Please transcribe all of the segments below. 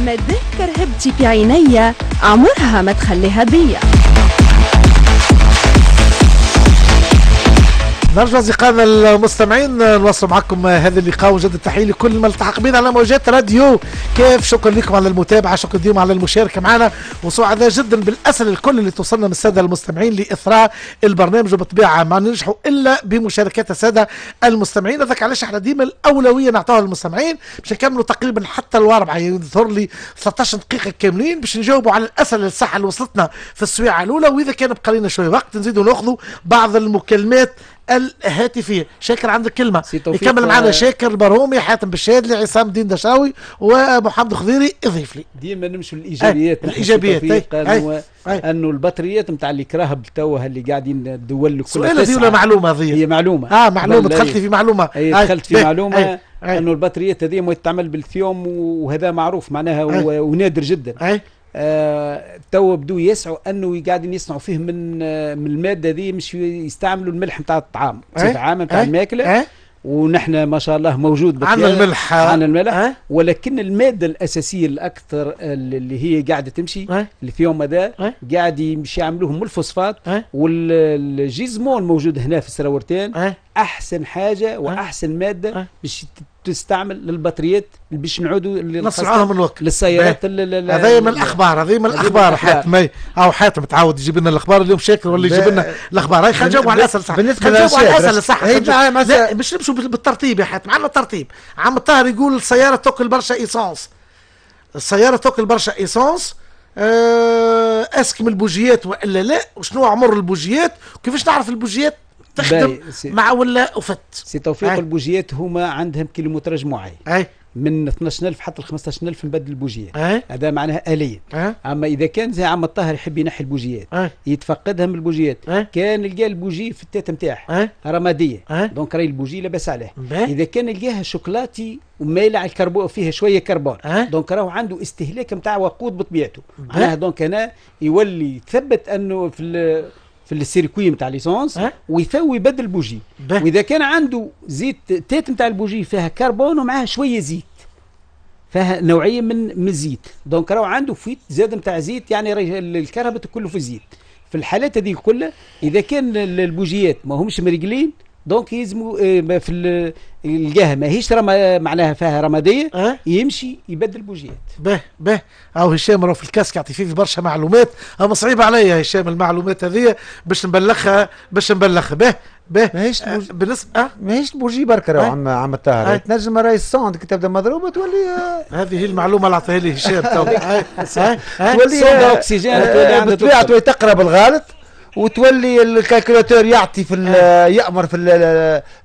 مادام كرهبتي في عينيا عمرها ما تخليها بيا. نرجع أصدقائنا المستمعين نواصل معكم هذا اللقاء، وجد التحية لكل من التحق بنا على موجات راديو كيف. شكرا لكم على المتابعة، شكرا لكم على المشاركة معنا، وسعداء جدا بالأسئلة الكل اللي توصلنا من السادة المستمعين لإثراء البرنامج، وبالطبيعة ما ننجحوا إلا بمشاركات السادة المستمعين. هذاك علاش احنا ديما الأولوية نعطوها للمستمعين باش نكملوا تقريبا حتى الأربعة، يظهر لي 13 دقيقة كاملين باش نجاوبوا على الأسئلة الصح اللي وصلتنا في السويعة الأولى، وإذا كان بقى لنا شوية وقت نزيدوا ناخذوا بعض المكالمات الهاتفية. شاكر عندك كلمة يكمل معنا شاكر البرهومي، حاتم بالشادلي، عصام الدين دشاوي، ومحمد خضيري. اضيف لي ديما نمشوا للايجابيات. الايجابيات انه البطاريات نتاع اللي كراهب توا اللي قاعدين الدول الكل. سؤال هذه ولا معلومة هذه؟ هي معلومة. معلومة، دخلت في معلومة. دخلت في معلومة انه البطاريات هذه ما تتعمل بالثيوم، وهذا معروف معناها ونادر جدا. تو بدو يسعوا انه قاعدين يصنعوا فيه من المادة ذي، مش يستعملوا الملح نتاع الطعام بصفة عامة نتاع الماكلة. ونحن ما شاء الله موجود عندنا الملح، عندنا الملح، ولكن المادة الاساسية الاكثر اللي هي قاعدة تمشي الليثيوم هذا قاعد يمشي يعملوه من الفوسفات وال gisement موجود هنا في السراورتين. احسن حاجة واحسن مادة باش تستعمل للبطاريات باش نعودوا نصنعوها من الوقت للسيارات. هذه من الاخبار، هذه من الاخبار. حاتم او حاتم تعود يجيب لنا الاخبار اليوم، شاكر ولا يجيب لنا الاخبار. هاي خلينا نجاوبوا على الاسئلة صح، بالنسبة على الاسئلة صح. لا باش نمشوا بالترتيب يا حاتم، عندنا ترتيب. عم الطاهر يقول السيارة تاكل برشا essence، السيارة تاكل برشا essence، est-ce que من البوجيات والا لا؟ وشنو عمر البوجيات؟ وكيفاش نعرف البوجيات تخدم مع ولا وفت؟ سي توفيق، البوجيات هما عندهم kilométrage معين من 12000 حتى ل 15000 نبدل البوجيات. هذا معناها آليا. اما اذا كان زي عم الطاهر يحب ينحي البوجيات يتفقدها من البوجيات. كان لقى البوجي في ال tête نتاعها رمادية، donc راهي البوجي لاباس عليه. اذا كان لقاها شوكولاتي ومايله على الكربون، فيها شوية كربون، donc راهو عنده استهلاك نتاع وقود بطبيعته. معناها donc هنا يولي يثبت انه في ال circuit نتاع l'essence ويثوي يبدل البوجي. واذا كان عنده زيت tête نتاع البوجي فيها كربون ومعها شوية زيت، فيها نوعية من الزيت، donc راهو عنده fuite زاد نتاع زيت، يعني الكهرباء كله في الزيت. في الحالات هذه كلها اذا كان البوجيات ما همش مريقلين، donc يلزموا في الجهة ماهيش معناها فيها رمادية، يمشي يبدل بوجيات. به به او هشام راه في ال casque يعطي فيه برشا معلومات، اما صعيب عليا يا هشام المعلومات هذه باش نبلغها، باش نبلغها. به به ماهيش بالنسبة ماهيش البوجي برك راهو عم الطاهر، تنجم راهي ال sonde كي تبدا مضروبة تولي. هذه هي المعلومة اللي عطاها لي هشام تو. تولي sonde oxygène، تولي بالطبيعة تولي تقرا بالغلط، وتولي ال calculateur يعطي في يامر في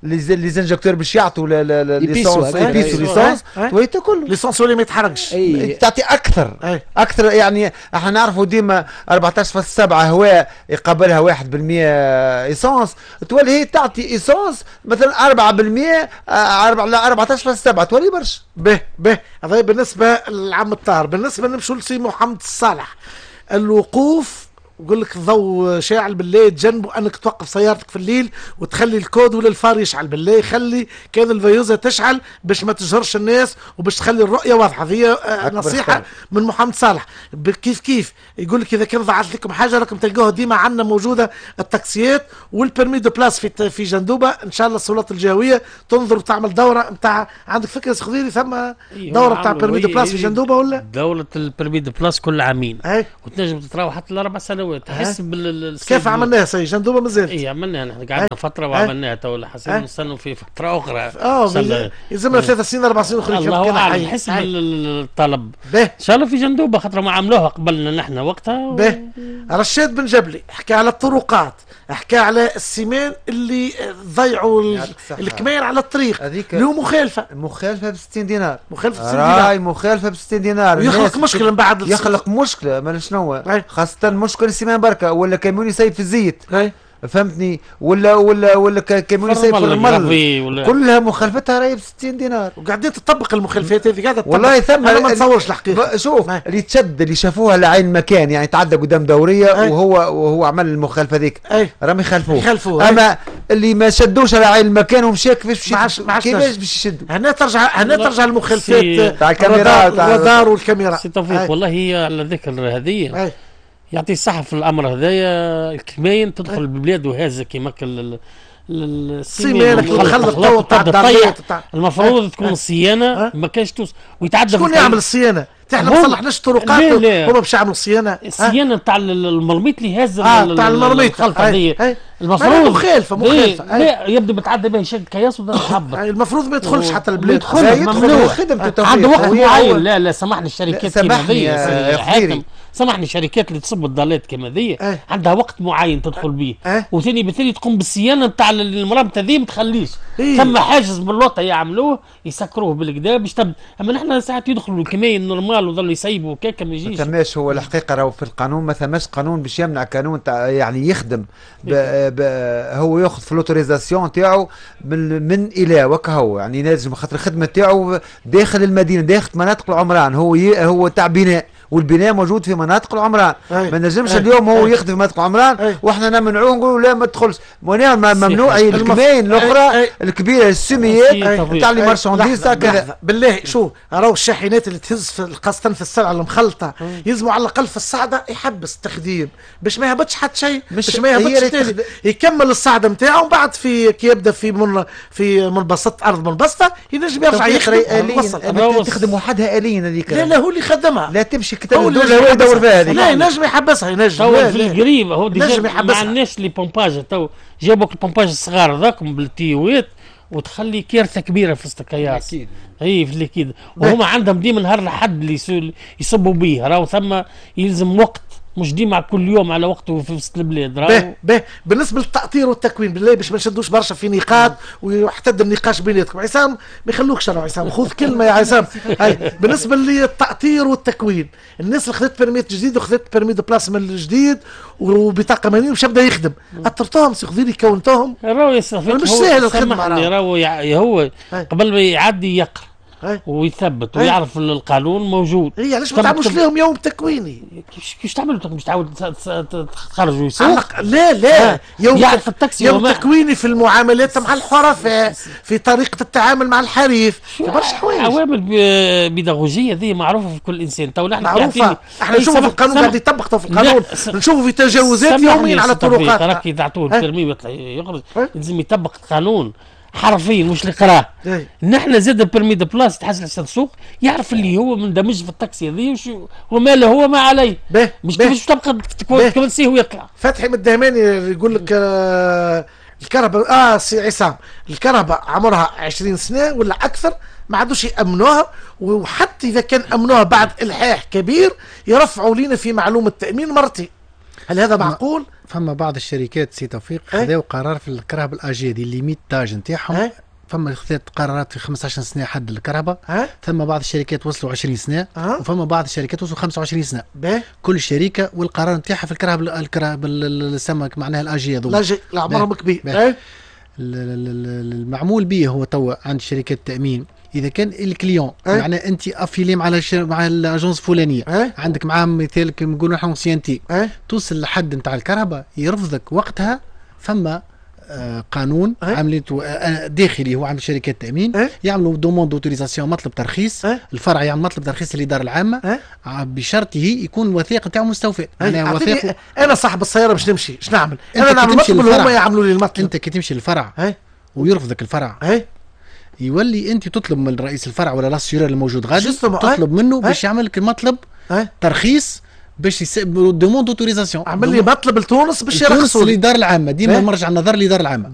les injecteurs باش يعطوا l'essence، يبيسوا l'essence، تولي تاكل l'essence ولي ما يتحرقش، تعطي اكثر اكثر. يعني احنا نعرفوا ديما 14.7 هواء يقابلها 1% essence، تولي هي تعطي essence مثلا 4% 14.7 تولي برشا. به به هذا بالنسبة لعم الطاهر. بالنسبة نمشوا لسي محمد الصالح، الوقوف يقول لك الضوء شاعل بالليل، تجنبوا انك توقف سيارتك في الليل وتخلي ال code ولا ال phare يشعل بالليل، خلي كان ال veilleuse تشعل باش ما تجهرش الناس وباش تخلي الرؤية واضحة. هي نصيحة من محمد صالح. كيف كيف يقول لك اذا كان ضاعت لكم حاجة راكم تلقوها ديما عندنا موجودة التاكسيات وال permis de place في جندوبه. ان شاء الله السلطات الجهوية تنظر وتعمل دوره نتاع، عندك فكرة خضيري ثم دوره نتاع permis de place في جندوبه ولا؟ دوره ال permis de place كل عامين وتنجم تتراوح حتى ل4 سنوات. تحس بال كيف عملناها سي جندوبه مازالت؟ اي عملناها نحن قعدنا فترة وعملناها تو حسينا نستنوا في فترة اخرى. يلزمنا 3 سنين 4 سنين اخرين. الله اعلم حسب الطلب. ان شاء الله في جندوبه خاطر ما عملوها قبلنا نحن وقتها. به رشاد بن جبلي حكى على الطرقات، حكى على ال ciment اللي ضيعوا الكمير على الطريق، اللي هو مخالفة، مخالفة ب 60 دينار، مخالفة ب 60 دينار، راي مخالفة ب 60 دينار، يخلق مشكلة من بعد، يخلق مشكلة ما شنو، خاصة مشكل ال ciment بركة ولا كاميون يسيب في الزيت. فهمتني، ولا كاميون يسيب في الرمل، كلها مخالفتها راهي ب 60 دينار. وقاعدين تطبق المخالفات هذه، قاعدة والله ثم انا ما نتصورش الحقيقة. شوف اللي تشد اللي شافوها لعين مكان، يعني تعدى قدام دورية وهو عمل المخالفة ذيك، راهم يخالفوه. اما اللي ما شدوش على عين المكان ومشى كيفاش كيفاش باش يشدوا؟ هنا ترجع المخالفات تاع الكاميرا، الرادار والكاميرا. سي توفيق والله هي على ذكر هذه يعطي الصحة في الأمر هذايا. الكماين تدخل البلاد وهازة كيما ال ciment المخلط المفروض تكون الصيانة ما كانش توصل ويتعدى. شكون يعمل الصيانة؟ احنا ما صلحناش الطرقات، هما باش يعملوا الصيانة. الصيانة نتاع المرميط اللي هاز تاع المرميط الخلطة المفروض مخالفة. لا يبدو متعدى به يشد كياس وبدا يحبط. المفروض ما يدخلش حتى البلاد، يدخل خدمته عنده وقت معين. لا سامحني الشركات كيما ذي، سامحني الشركات اللي تصب الضالات كما ذي عندها وقت معين تدخل به، وثاني بالتالي تقوم بالصيانه نتاع المرابطه ذي، ما تخليش ثم حاجز باللوطه يعملوه يسكروه بالكدا باش تبدا. اما نحن ساعات يدخلوا الكماين normal وظلوا يسيبوا كاكا ما يجيش. ما ثماش هو الحقيقة راهو في القانون ما ثماش قانون باش يمنع قانون يعني يخدم هو ياخذ في l'autorisation تاعو من الى وكهو، يعني لازم خاطر الخدمة تاعو داخل المدينة، داخل مناطق العمران، هو تاع بناء، والبناء موجود في مناطق العمران. ما نجمش اليوم هو يخدم في مناطق العمران واحنا نمنعوه نقولوا لا ما تدخلش. ممنوع الكماين الاخرى الكبيرة السميات تاع les marchandises تاع كذا. بالله شو راهو الشاحنات اللي تهز خاصة في السلعة المخلطه يلزموا على الاقل في الصعده يحبس التخديم باش ما يهبطش حتى شيء، باش ما يهبطش، يكمل الصعده نتاعو ومن بعد في كي يبدا في منبسط ارض منبسطه ينجم يرجع يخدم. تخدم وحدها اليا هذيك. لا هو اللي خدمها، لا تمشي هو يدور فيها هذيك. لا ينجم يحبسها، ينجم في القريب هو déjà ما عندناش les pompages تو، جابوك ال pompage الصغار هذاكم بالتيوات وتخلي كارثة كبيرة في وسط الكياس. اكيد اي في ال liquide، وهما عندهم ديما نهار الحد اللي يصبوا به، راهو ثم يلزم وقت، مش ديما كل يوم على وقته في وسط البلاد. باهي بالنسبة للتأطير والتكوين بالله باش ما نشدوش برشا في نقاط ويحتد النقاش بيناتكم. عصام ما يخلوكش، انا عصام خذ كلمة يا عصام. بالنسبة للتأطير والتكوين، الناس اللي خذت permis جديد وخذت permis de place من الجديد وبطاقه ماليه باش يبدا يخدم، اطرتوهم سي خذيري كونتوهم؟ راهو مش ساهل الخدمة. راهو هو قبل ما يعدي يقرا ويثبت ويعرف القانون موجود. اي علاش ما تعملوش لهم يوم تكويني؟ كيفاش تعملوا؟ مش تعاود تخرجوا يسوق؟ لا يوم يعرف التاكسي، يوم تكويني في المعاملات مع الحرفاء، في طريقه التعامل مع الحريف، في برشا حوايج. عوامل بيداغوجيه ذي معروفة في كل انسان. تو نحن معروفة، احنا نشوفوا في القانون قاعد يطبق في القانون، نشوفوا في تجاوزات يوميا على الطرقات. راك تعطوه ال permis ويطلع يخرج، لازم يطبق القانون حرفيا مش اللي قراه. نحن زاد ال permis de place تحس السوق يعرف اللي هو مندمج في التاكسي هذه وما له هو ما عليه، مش كيفاش تبقى تكونسيه ويطلع. فتحي من الدهماني يقول لك الكهرباء سي عصام، الكهرباء عمرها 20 سنة ولا اكثر ما عادوش يامنوها، وحتى اذا كان امنوها بعد الحاح كبير يرفعوا لنا في معلومة التامين مرتين. هل هذا معقول؟ فما بعض الشركات سي توفيق خذاو قرار في الكرهبة ال âgée des limites d'âge نتاعهم، فما خذات قرارات في 15 سنة حد الكرهبة، ثم بعض الشركات وصلوا 20 سنة، وفما بعض الشركات وصلوا 25 سنة. كل شركة والقرار نتاعها في الكرهبة السمك معناها ال âgée هذوما ال âgée عمرهم كبير. المعمول به هو توا عند شركات التامين اذا كان ال client معناها انت affilié مع مع ال agence الفلانية، عندك معاه مثال كيما نقولوا نحن ancienneté، توصل لحد نتاع الكرهبة يرفضك وقتها. فما قانون عملته داخلي هو عند شركات التامين، يعملوا demande d'autorisation، مطلب ترخيص، الفرع يعمل مطلب ترخيص للادارة العامة بشرطه يكون الوثيقة نتاعو مستوفاه. معناها انا صاحب السيارة باش نمشي اش نعمل؟ انا نعمل مطلب ولا هما يعملوا لي المطلب؟ انت كي تمشي للفرع ويرفضك الفرع، يولي انت تطلب من رئيس الفرع ولا l'assureur الموجود غادي، تطلب منه باش يعمل لك المطلب ترخيص باش demande d'autorisation، عمل لي مطلب لتونس باش يرخصوا للادارة العامة. ديما مرجع النظر للادارة العامة.